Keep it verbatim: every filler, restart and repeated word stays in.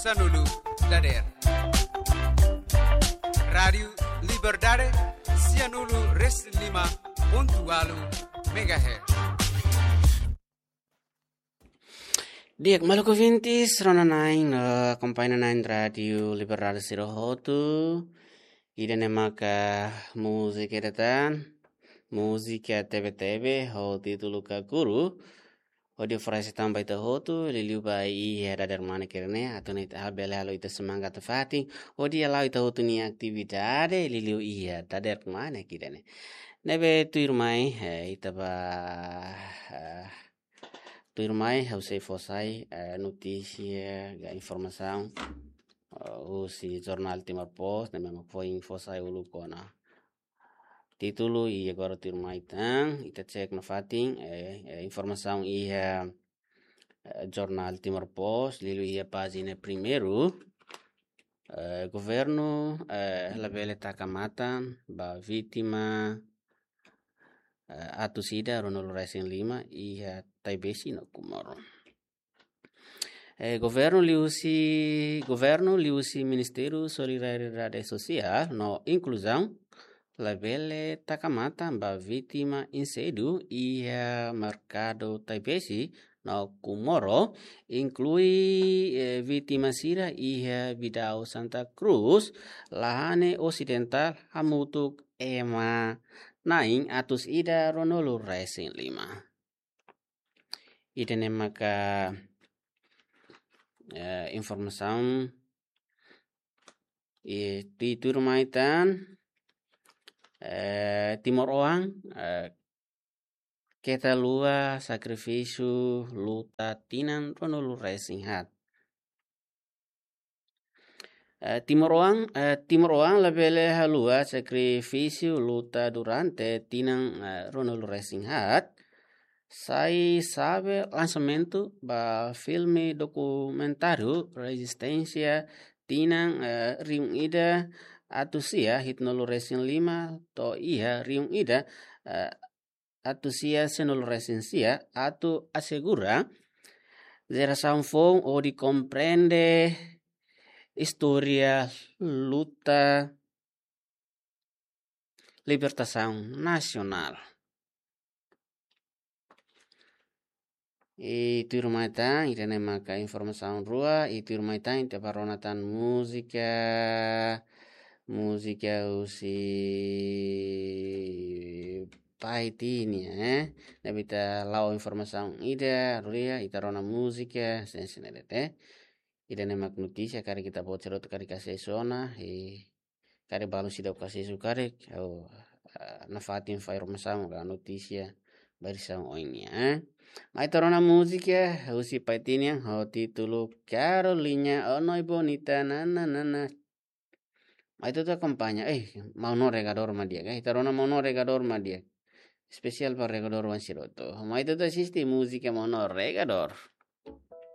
Sanulu dader. Rádiu Liberdade, sianulu resin lima pontu ualu megahertz. Di'ak, maluk ouvintes, rona-na'in, eh, akompaña na'in Rádiu Liberdade sira hotu. Ida-ne'e maka múzika ida tan, múzika tebe-tebe, ho títulu Kakuru. Hodi oferese tan ba ita hotu, liuliu ba iha dadeer-mane ida-ne'e, atu nune'e ita bele halo ita semangat nafatin, hodi hala'o ita hotu nia atividade, liuliu iha dadeer-mane ida-ne'e. Ne'ebé tuirmai, eh, ita ba, eh, tuirmai, ha'u sei fó sai, eh, notísia, ka informasaun, eh, husi jornál Timor Post, ne'ebé mak foin fó sai uluk ona. Títulu i agora tuirmai tan, ita cek nafatin, eh, eh, informasaun iha, eh, jornál Timor Post, liuliu iha pájina primeiru, eh, governu, eh, labele taka matan ba vítima, eh, atus ida ruanulu resin lima iha Taibesi no Comoro. Eh, governu liuhusi, governu liuhusi Ministériu Solidariedade Sosiál no Inkluzaun labele taka matan ba vítima insedu iha merkadu Taibesi no Comoro, inklui, eh, vítima sira iha Bidau Santa Cruz, Lahane Osidentál hamutuk ema na'in atus ida ruanulu resin lima. Ida-ne'e maka, eh, informasaun i tuirmai tan, eh, timoroan, eh, keta haluha sakrifísiu luta tinan ruanulu resin haat. Eh, timoroan, eh, timoroan labele haluha sakrifísiu luta durante tinan, eh, ruanulu resin haat. Sai xave lansamentu ba filme dokumentáriu rezisténsia tinan, eh, rihun ida atus sia hitunulu resin lima to'o iha rihun ida, eh, atus sia sanulu resin sia atu asegura jerasaun foun hodi komprende istória luta libertasaun nasionál. I tuirmai tan, ida-ne'e maka informasaun rua, i tuirmai tan, ita bá rona tan múzika, múzika husi Paiti nian, eh. Ne'ebé ita la'o informasaun ida, rua, ita rona múzika, sen sen ede, eh. Ida-ne'e mak notísia, karik ita-boot sira hotu karik asesu ona, i karik balu seidauk asesu karik, ha'u, ah, nafatin fó informasaun ka notísia ba ida-ne'e ohin nian, eh. Mai ita rona múzika husi Paiti nian ho títulu Carolina, oh noi bonita, na, na, na, na. Mai ita hotu akompaña, eh, maun no regadór mak di'ak, eh. Ita rona maun no regadór mak di'ak. Espesiál ba regadór oan sira hotu. Mai ita hotu asiste múzika maun no regadór.